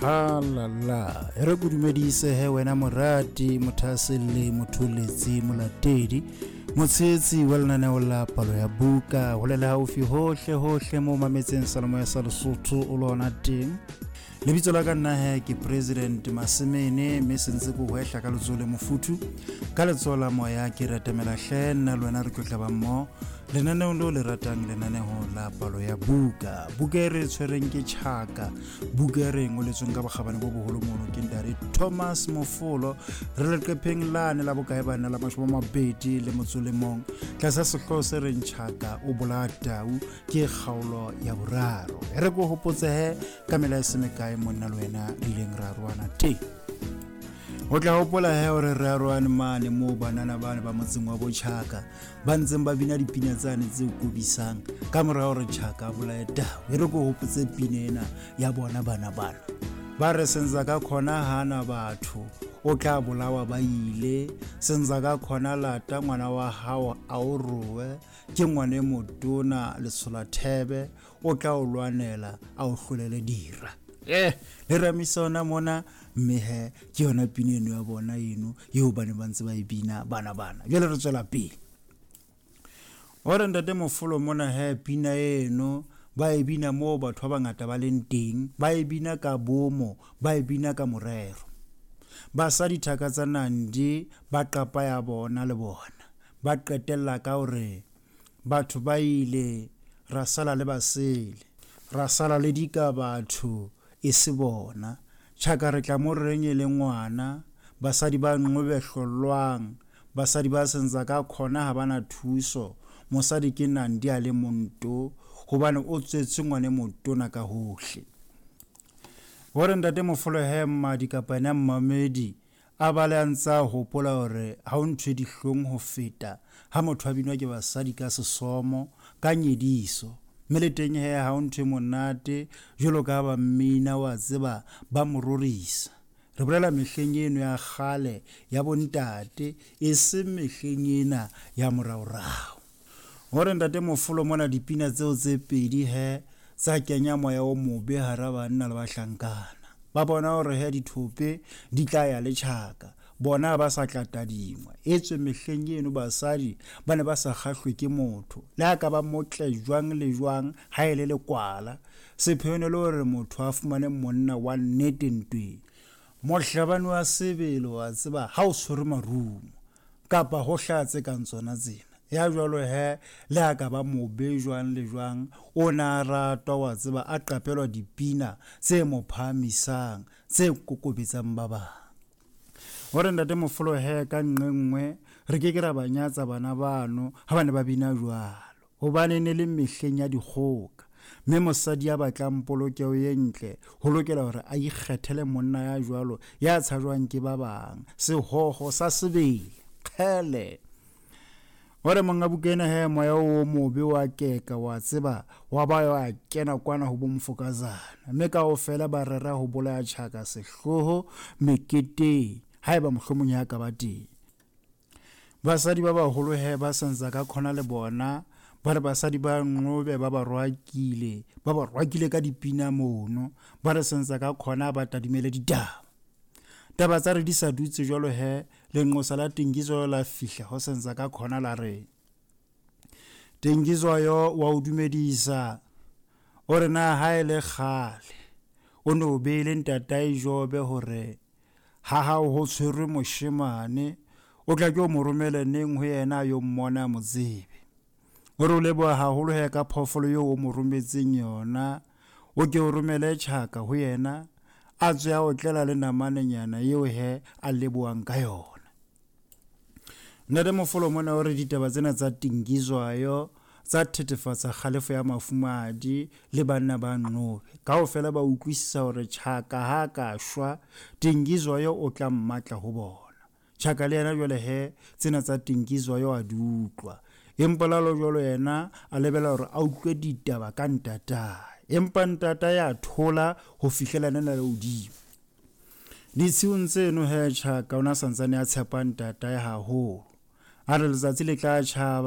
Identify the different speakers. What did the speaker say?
Speaker 1: Halala, e re ko dumedise he wena morati, mothahaselli, motholetsi, molatedi, motshehetsi wa lenaneo la palo ya buka, hole le haufi hohle hohle mo mametseng Salomoya sa Lesotho o lona teng. Lebitso la ka nna he ke President Masemene, mme sentse ko hwehla ka letsoho le mofuthu, ka letsoho la moya ke ratamela hle nna le wena re tlo tlaba mmoho lenaneong leo le ratang, lenaneo la palo ya buka. Buka e re tshwereng ke Tjhaka, buka e re ngoletsweng ka bokgabane bo boholo mono ke ntate Thomas Mofolo. Re leqepheng lane la bokae bana la 21, tlasa sehlooho se reng Tjhaka o bolaya tau, ke kgaolo ya boraro. E re ko hopotsehe ka mela e se mekae monna le wena re ileng ra roana teng. O tla hopola he hore re arohane mane moo banana bane ba motseng wa Botjhaka ba ntseng ba bina dipina tsane tse kobisang ka mora hore Tjhaka a bolaye tau. E re ko hopotse pina ena ya bona bana bana. Ba re senza ka khona hana batho, o tla bolawa ba ile. Senza ka khona lata ngwana wa hao a o rowe, ke ngwane e motona letshola thebe, o tla o lwanela a o hlolele dira. Le ramisa ona mona, mme he ke yona pina eno ya bona eno eo ba ne ba ntse ba e bina bana bana. Jwale re tswela pele. O re ntate Mofolo mona he pina eno ba e bina moo batho ba bangata ba leng teng, ba e bina ka bomo, ba e bina ka morero. Basadi thaka tsa Nandi ba qapa ya bona le bona, ba qetella ka hore batho ba ile ra sala le basele, ra sala le dika batho e se bona. Tjhaka re tla mo reng e le ngwana, basadi ba nqobe hlollwang, basadi ba sentsa ka khona ha bana thuso. Mosadi ke Nandi a le monto, hobane o tswetse ngwane motona ka hohle. Hore ntate Mofolo he mmadi kapa ena mmamedi a bale a ntse a hopola hore ha o ntho e dihlong ho feta ha motho a binwa ke basadi ka sesomo, ka nyediso. Mme le teng he ha o ntho e monate jwalo ka ba mmina wa tseba ba mo rorisa. Re bolela mehleng eno ya kgale ya bontate, e seng mehleng ena ya moraorao. Hore ntate Mofolo mona dipina tseo tse pedi he tsa kenya moya o mobe hara banna le bahlankana. Ba bona hore he dithope di tla ya le Tjhaka, bona ba sa tla tadingwa. Etswe mehleng eno basadi ba ne ba sa kgahlwe ke motho, le ha ka ba motle jwang le jwang ha e le lekwala. Sepheo ne le hore motho a fumane monna wa nnete ntweng, mohlabani wa sebele wa tseba ha o tshwere marumo kapa ho hlaha tse kang tsona tsena. Ya jwalo he le ha ka ba mobe jwang le jwang, o na ratwa wa tseba a qapelwa dipina tse mo phahamisang, tse kokobetsang ba bang. Hore ntate Mofolo he ka nqe nngwe re ke ke ra ba nyatsa bana bano ha ba ne ba bina jwalo, hobane ne le mehleng ya dikgoka, mme mosadi ya batlang polokeho e ntle ho lokela hore a ikgethele monna ya jwalo ya tshajwang ke ba bang, sehoho sa sebele. Kgele. Hore monga buka ena he moya o mobe wa keka wa tseba wa ba wa kena kwana ho bo Mfokazana, mme kaofela ba rera ho bolaya Tjhaka sehloho meketeng haeba mohlomong ya ka ba teng. Basadi ba baholo he ba sentsa ka khona le bona, ba re basadi ba nqobe ba ba roakile, ba ba roakile ka dipina mono, ba re sentsa ka khona ba tadimele ditaba. Taba tsa re di sa dutse jwalo he, lenqosa la Tengizwayo la fihla ho sentsa ka khona la re, Tengizwayo wa o dumedisa, o re na ha e le kgale o ne o beile ntatae Jobe hore ha hao ho tshwerwe moshemane, o tla ke o mo romele neng ho yena a yo mmona a mo tsebe. O re o leboha haholo he ka phoofolo eo o mo rometseng yona, o ke o romele Tjhaka ho yena, a tswe a otlela le namanenyana eo he a lebohang ka yona. Ntate Mofolo mona o re ditaba tsena tsa Tengizwayo tsa thethefatsa kgalefo ya mafumahadi le banna ba Nqobe. Kaofela ba utlwisisa hore Tjhaka ha ka shwa, Tengizwayo o tla mmatla ho bona. Tjhaka le yena jwale he tsena tsa Tengizwayo a di utlwa. Empa lalo jwalo yena a lebela hore a utlwe ditaba ka ntatae. Empa ntatae a thola ho fihlela nena le hodimo. Ditshiung tseno he Tjhaka o na santsane a tshepa ntatae haholo. A re letsatsi le tla tjhaba.